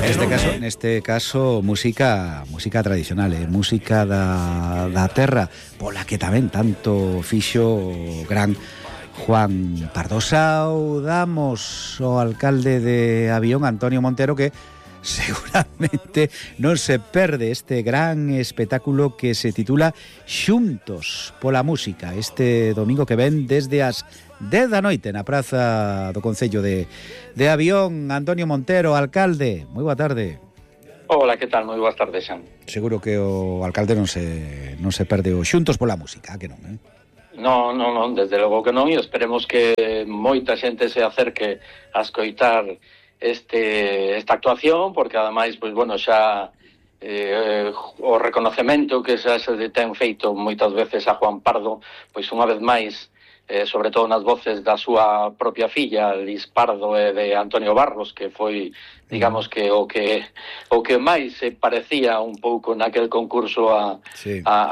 Neste caso música tradicional, música da terra, pola que tamén tanto fixo o gran Juan Pardo. Saudamos ao alcalde de Avión, Antonio Montero, que seguramente non se perde este gran espectáculo que se titula Xuntos pola Música, este domingo que ven desde as 10 da noite na praza do Concello de Avión. Antonio Montero, alcalde, moi boa tarde. Hola, que tal? Moi boas tardes, Xan. Seguro que o alcalde non se perde o Xuntos pola Música, que non, eh? Non, desde logo que non, e esperemos que moita xente se acerque a escoitar esta actuación, porque ademais, pois, bueno, xa o reconocemento que xa se ten feito moitas veces a Juan Pardo, pois unha vez máis, sobre todo nas voces da súa propia filla, Lis Pardo, e de Antonio Barros, que foi, digamos, que o que máis se parecía un pouco naquel concurso a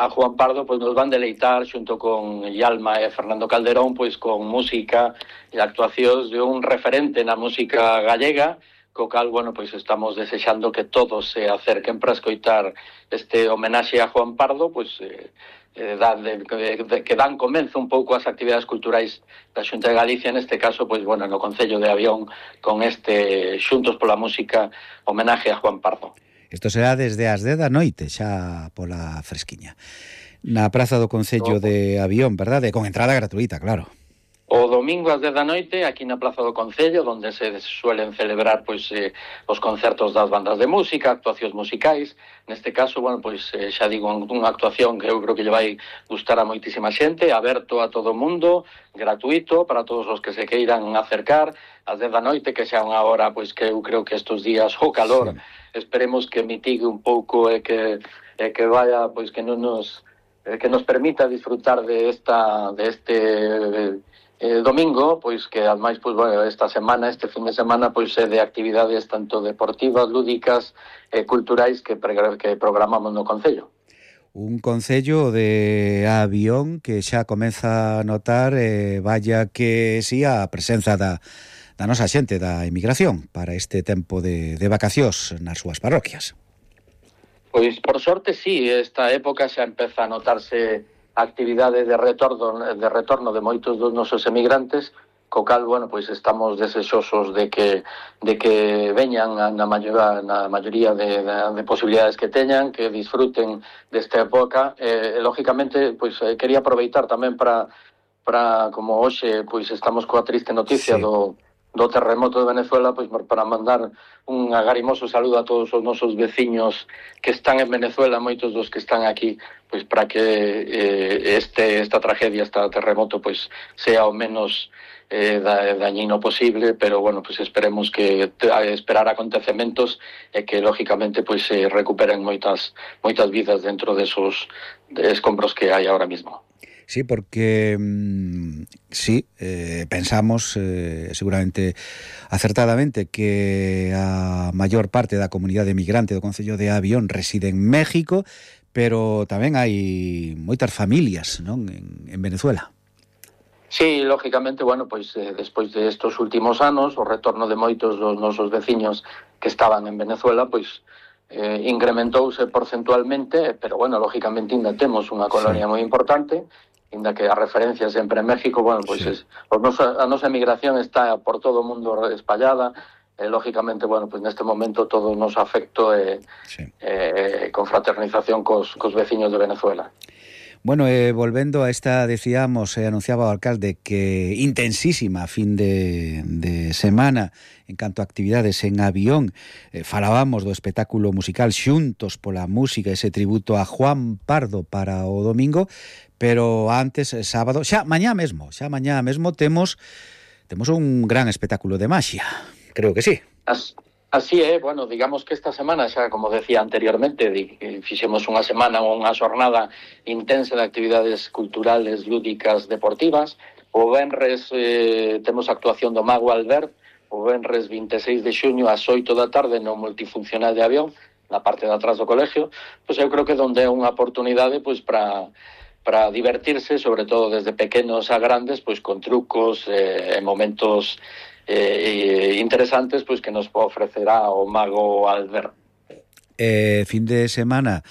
Juan Pardo, pois nos van deleitar xunto con Yalma e Fernando Calderón, pois con música e actuacións de un referente na música gallega, co cal, bueno, pois estamos desexando que todos se acerquen para escoitar este homenaxe a Juan Pardo, pois que dan comenzo un pouco ás actividades culturais da Xunta de Galicia, neste caso, pois, bueno, no Concello de Avión, con este Xuntos pola Música homenaxe a Juan Pardo. Isto será desde as 10 da noite, xa pola fresquiña, na praza do Concello de Avión, verdade? Con entrada gratuita, claro. O domingo ás 10 da noite, aquí na Plaza do Concello, onde se suelen celebrar pois os concertos das bandas de música, actuacións musicais. Neste caso, bueno, pois xa digo, unha actuación que eu creo que lle vai gustar a moitísima xente, aberto a todo o mundo, gratuito para todos os que se queiran acercar, ás 10 da noite, que xa unha hora, pois que eu creo que estes días o calor, esperemos que mitigue un pouco e que vaya, pois que non nos permita disfrutar de este domingo, pois que ademais, pois, bueno, esta semana, este fin de semana, pois é de actividades tanto deportivas, lúdicas e culturais que programamos no Concello. Un Concello de Avión que xa comeza a notar, vaya que si, a presenza da nosa xente da emigración para este tempo de vacacións nas súas parroquias. Pois, por sorte, sí, esta época xa empeza a notarse a actividade de retorno de moitos dos nosos emigrantes, co cal, bueno, pois estamos desexosos de que veñan na maioría de posibilidades que teñan, que disfruten desta época. Lógicamente, pois quería aproveitar tamén para como hoxe, pois estamos coa triste noticia do terremoto de Venezuela, pois para mandar un agarimoso saludo a todos os nosos veciños que están en Venezuela, moitos dos que están aquí, pois para que esta tragedia, este terremoto, pois sea o menos dañino posible, pero bueno, pois esperemos que esperar acontecementos e que lógicamente pois se recuperen moitas vidas dentro desos escombros que hai ahora mismo. Sí, porque pensamos seguramente acertadamente que a maior parte da comunidade emigrante do Concello de Avión reside en México, pero tamén hai moitas familias, non, en Venezuela. Sí, lógicamente, bueno, pois despois de estos últimos anos, o retorno de moitos dos nosos veciños que estaban en Venezuela, pois incrementouse porcentualmente, pero bueno, lógicamente ainda temos unha colonia moi importante, ainda que a referencia sempre en México, bueno, pois a nosa emigración está por todo o mundo espallada, lógicamente, bueno, pois neste momento todo o noso afecto e confraternización cos veciños de Venezuela. Bueno, volvendo a esta, decíamos, anunciaba o alcalde que intensísima fin de semana en canto a actividades en Avión. Falábamos do espectáculo musical Xuntos pola Música, ese tributo a Juan Pardo para o domingo, pero antes, sábado, xa mañá mesmo temos un gran espectáculo de maxia, creo que sí. Así é, bueno, digamos que esta semana xa, como decía anteriormente, fixemos unha semana ou unha xornada intensa de actividades culturales, lúdicas, deportivas. O venres temos a actuación do Mago Albert, o venres 26 de xuño ás 8 da tarde no multifuncional de Avión, na parte de atrás do colegio. Pois eu creo que onde é unha oportunidade pois para divertirse, sobre todo desde pequenos a grandes, pois con trucos e momentos interesantes pois que nos ofrecerá o mago Albert. Fin de semana,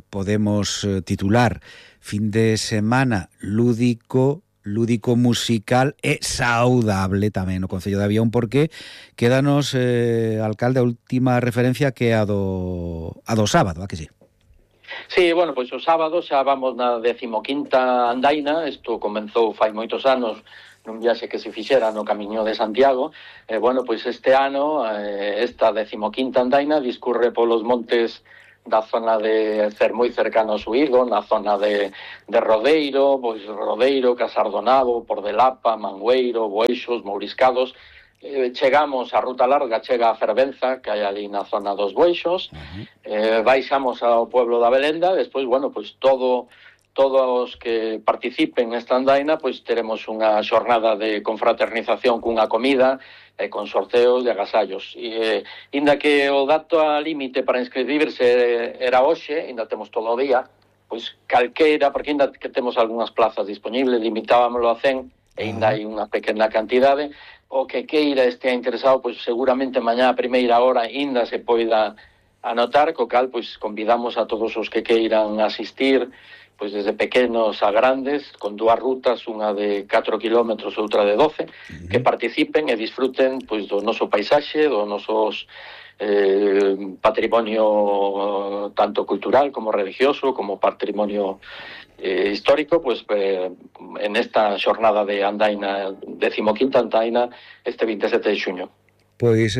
podemos titular fin de semana lúdico musical e saudable tamén no Concello de Avión, porque quédanos, alcalde, a última referencia que a do sábado, a que sí? Sí, bueno, pois o sábado xa vamos na 15ª andaina. Isto comenzou fai moitos anos nun viaxe que se fixera no Camiño de Santiago. Bueno, pois este ano esta 15ª andaina discurre polos montes da zona de moi cercano ao Suído, na zona de Rodeiro, pois Rodeiro, Casardonado, Pordelapa, Mangueiro, Boeixos, Mouriscados. Chegamos a ruta larga, chega a Fervenza, que hai ali na zona dos Boeixos. Baixamos ao pueblo da Belenda. Despois, bueno, pois todos os que participen nesta andaina, pois teremos unha xornada de confraternización cunha comida, con sorteos de agasallos. Inda que o dato a límite para inscribirse era hoxe, inda temos todo o día, pois calqueira, porque inda que temos algunhas plazas disponibles, limitábamoslo a 100, e inda hai unha pequena cantidade. O que queira estea interesado, pois seguramente mañá a primeira hora inda se poida anotar, co cal pois convidamos a todos os que queiran asistir, pois desde pequenos a grandes, con dúas rutas, unha de 4 kilómetros e outra de 12, que participen e disfruten pois do noso paisaxe, do nosos patrimonio tanto cultural como religioso, como patrimonio histórico, pois en esta xornada de andaina, 15ª andaina, este 27 de xuño. Pois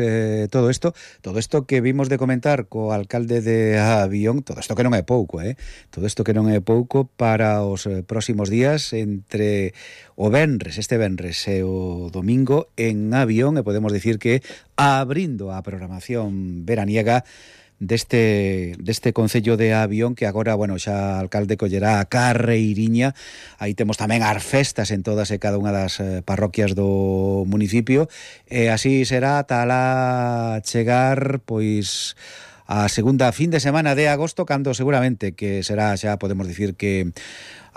todo isto que vimos de comentar co alcalde de Avión, todo isto que non é pouco, todo isto que non é pouco para os próximos días, entre o venres, este venres e o domingo en Avión, e podemos dicir que abrindo a programación veraniega deste Concello de Avión, que agora, bueno, xa alcalde collerá a carreiriña. Aí temos tamén as festas en todas e cada unha das parroquias do municipio, e así será tala chegar pois a segunda fin de semana de agosto, cando seguramente que será, xa podemos dicir que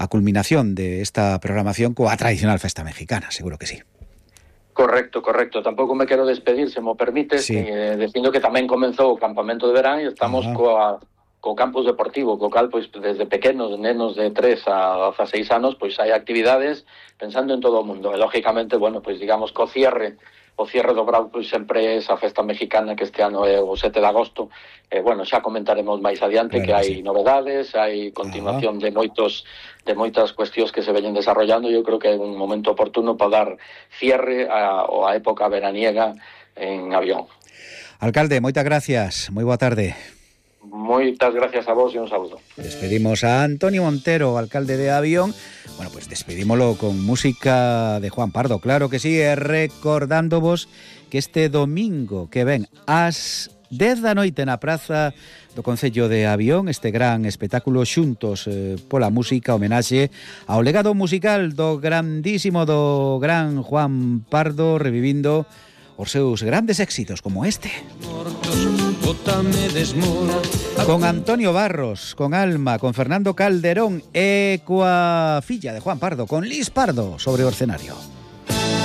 a culminación de esta programación coa tradicional festa mexicana, seguro que sí. Correcto. Tampouco me quero despedir, se mo permites, sí. Dicindo que tamén comenzou o campamento de verán e estamos co campus deportivo, co cal, pois, desde pequenos, nenos de 3 a 16 anos, pois hai actividades pensando en todo o mundo. E, lógicamente, bueno, pois, digamos, o cierre do Brau, pois, sempre é esa festa mexicana que este ano é o 7 de agosto. Bueno, xa comentaremos máis adiante, claro, que hai novedades, hai continuación de moitas cuestións que se veñen desarrollando. Eu creo que é un momento oportuno para dar cierre a época veraniega en Avión. Alcalde, moitas gracias, moi boa tarde. Moitas gracias a vos e un saúdo. Despedimos a Antonio Montero, alcalde de Avión. Bueno, pues despedímolo con música de Juan Pardo, claro que sí, e recordándovos que este domingo que ven ás 10 da noite na praza do Concello de Avión, este gran espectáculo Xuntos pola música, homenaxe ao legado musical do grandísimo, do gran Juan Pardo, revivindo os seus grandes éxitos como este. Con Antonio Barros, con Alma, con Fernando Calderón e coa filla de Juan Pardo, con Lis Pardo, sobre o escenario.